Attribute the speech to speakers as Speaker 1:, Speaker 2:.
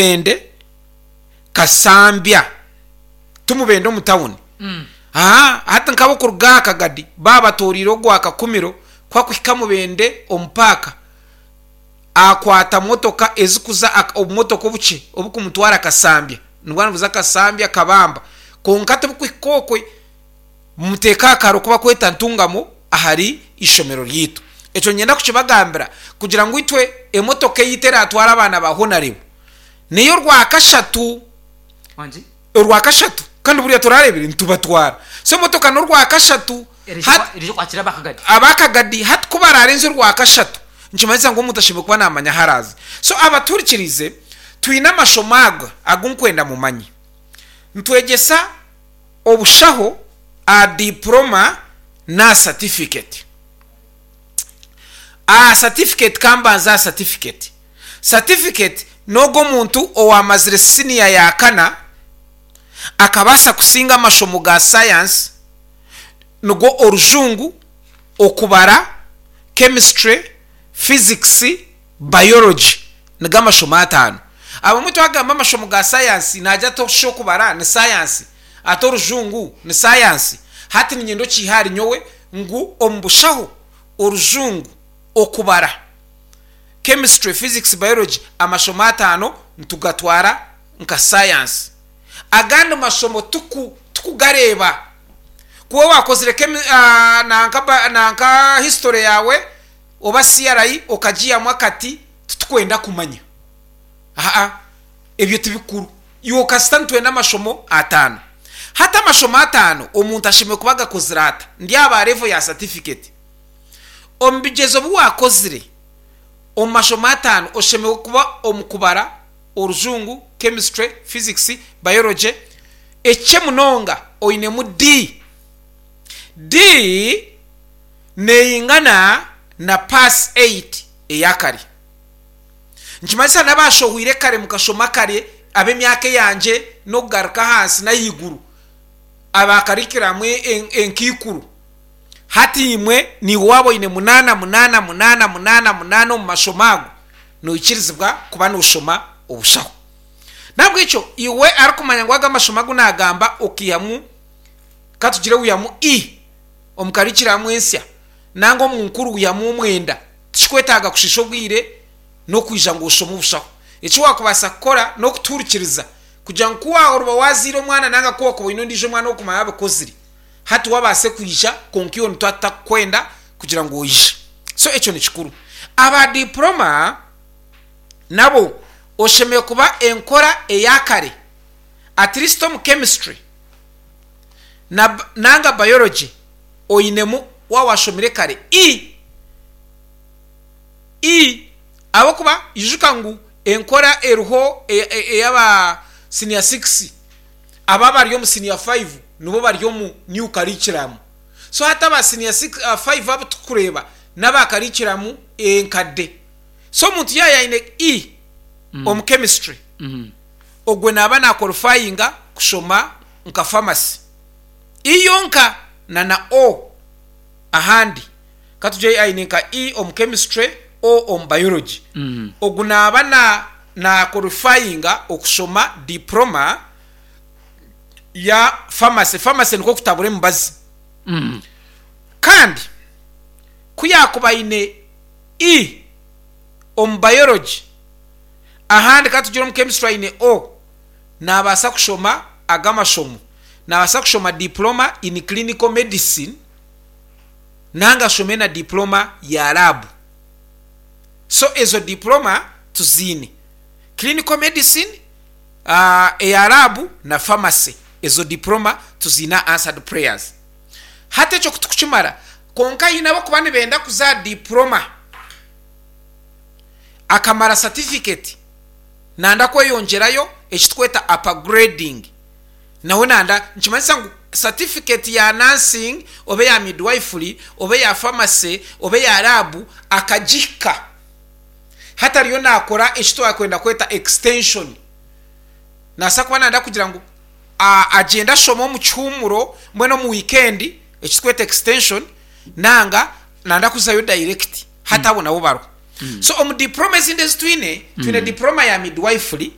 Speaker 1: Mubende Kasambya ti Mubende omu tawuni. Haa hati nk'abokuruga aha Kagadi baaba batooriire ogwa Kakumiro ku akuhika Mubende omu paaka akwata motoka ezikuza obumotoka obukye obukumutwara Kasambya nibwo nibuza Kasambya Kabamba kwonka tibukuhika okwe Mumuteeke aha kaaro ku bakweta Ntungamo ahari ishomero ryaitu. Ekyo niinyenda kukibagambira kugira ngu itwe emotoka eyaitu eraatwara abaana ba Honarebo n'ey'orwakashatu.
Speaker 2: Wangi?
Speaker 1: Orwakashatu. Kandi buriya torareebire nitubatwara. So emotoka n'orwakashatu.
Speaker 2: Eraija
Speaker 1: Hati
Speaker 2: kwa- eraija kwakira abakagadi.
Speaker 1: abakagadi hati ku baraarenze orwakashatu nikimanyisa ngu omuntu ashemereire kuba naamanya ahu araaze. So abatuhurikiriize, twine amashomo aga agu nkwenda mumanye. Nitwegyesa obushaho aha diploma n'aha certificate. Aha certificate ka mbanze aha certificate. Certificate n'ogwo omuntu owamazire siniya ya kana akabaasa kusinga amashomo ga science nigo orujungu, okubara, chemistry, physics, Biology nigo amashomo atano. Abamwe twagamba amashomo ga sayansi nagira ati oshusha okubara ni sayansi, ati orujungu ni sayansi. Hati niinyenda okiihe ahari nyowe ngu omu bushaho orujungu, okubara, chemistry, physics, biology amashomo atano nitugatwara nka sayansi. Agandi mashomo tiku tikugareeba. Ku waaba wakozire chemi nanka nanka history yaawe oba CRE okagiihamu akati titukwenda kumanya. Aa ebyo tibikuru. Iwe kasita nitwenda amashomo atano. Hati amashomo atano omuntu ashemereire kuba agakozire ata? Ndi aba level ya certificate. Omu bigyezo bi wakozire omu mashomo atano oshemereire kuba omu kubara, orujungu, chemistry, physics, biology, ekikye munonga oinemu D. D Neingana na pass 8 eya kare. Nikimanyisa n'abaashohwire kare mukashoma kare ab'emyaka eyangye n'okugaruka ahansi n'ahaiguru aba curriculum enkaikuru. Hati imwe naiwe waaba oine munaana, munaana, munaana, munaana, munaana omu mashomo ago, noikirizibwa kuba nooshoma obushaho. N'ahabw'ekyo iwe arikumanya ngu ago amashomo agu naagamba okaihamu ka tugire wiihamu E, omu karikiramu ensya nanga omu nkuru wihamu omwenda, tikikwetaaga kushiisha obwire n'okwija ngu oshome obushaho. Eki waakubaasa kukora n'okutuhurikiriza kugira ngu ku waoriba waazaire omwana nanga ku wakuba oine ondiijo omwana ow'okumanya abikozire, hati we abaase kwija kwonka iwe nituba tutakukwenda kugira ngu oije. So ekyo ni kikuru. Aba diploma nabo oshemereire kuba enkora eya kare at least omu chemistry. na nanga biology oinemu waaba washomire kare i i ahabw'okuba ijuka ngu enkora eriho ey'aba senior six aba abari omu senior five nibo bari omu new curriculum so hati aba senior six five abu turikureeba n'aba curriculum enkadde so omuntu yaaba aine i omu chemistry ogwe naaba na qualifyinga kushoma nka pharmacy I yonka na na O ahandi katugye aine nka I omu chemistry O omu biology ogu naaba na na qualifyinga okushoma diploma ya pharmacy, pharmacy nikwo kutabura emibazi kandi ku yakuba aine I omu biology ahandi katugire omu chemistry aine O Naabaasa kushoma aga amashomo. Naabaasa kushoma Diploma in Clinical Medicine nanga ashome na Diploma ya Lab. So ezo Diploma tuziine. Clinical Medicine, eya Lab na Pharmacy. Ezo Diploma tuziine aha Answered Prayers. Hati ekyo ku tukukimara, kwonka haine abarikuba nibenda kuza aha Diploma akamara Certificate. Nanda kweyongyerayo eki tukweta upgrading nawe nanda nikimanyisa ngu certificate ya nursing oba eya midwifery oba eya pharmacy oba eya lab akagihika hati ariyo nakora eki twakwenda kweta extension nabaasa kuba nanda kugira ngu agyende ashome omu kihumuro mbwenu omu weekend eki tukweta extension nanga nanda kuzayo direct hati abo nabo bariho. So omu diploma ezindi ezi twine, twine diploma ya midwifery.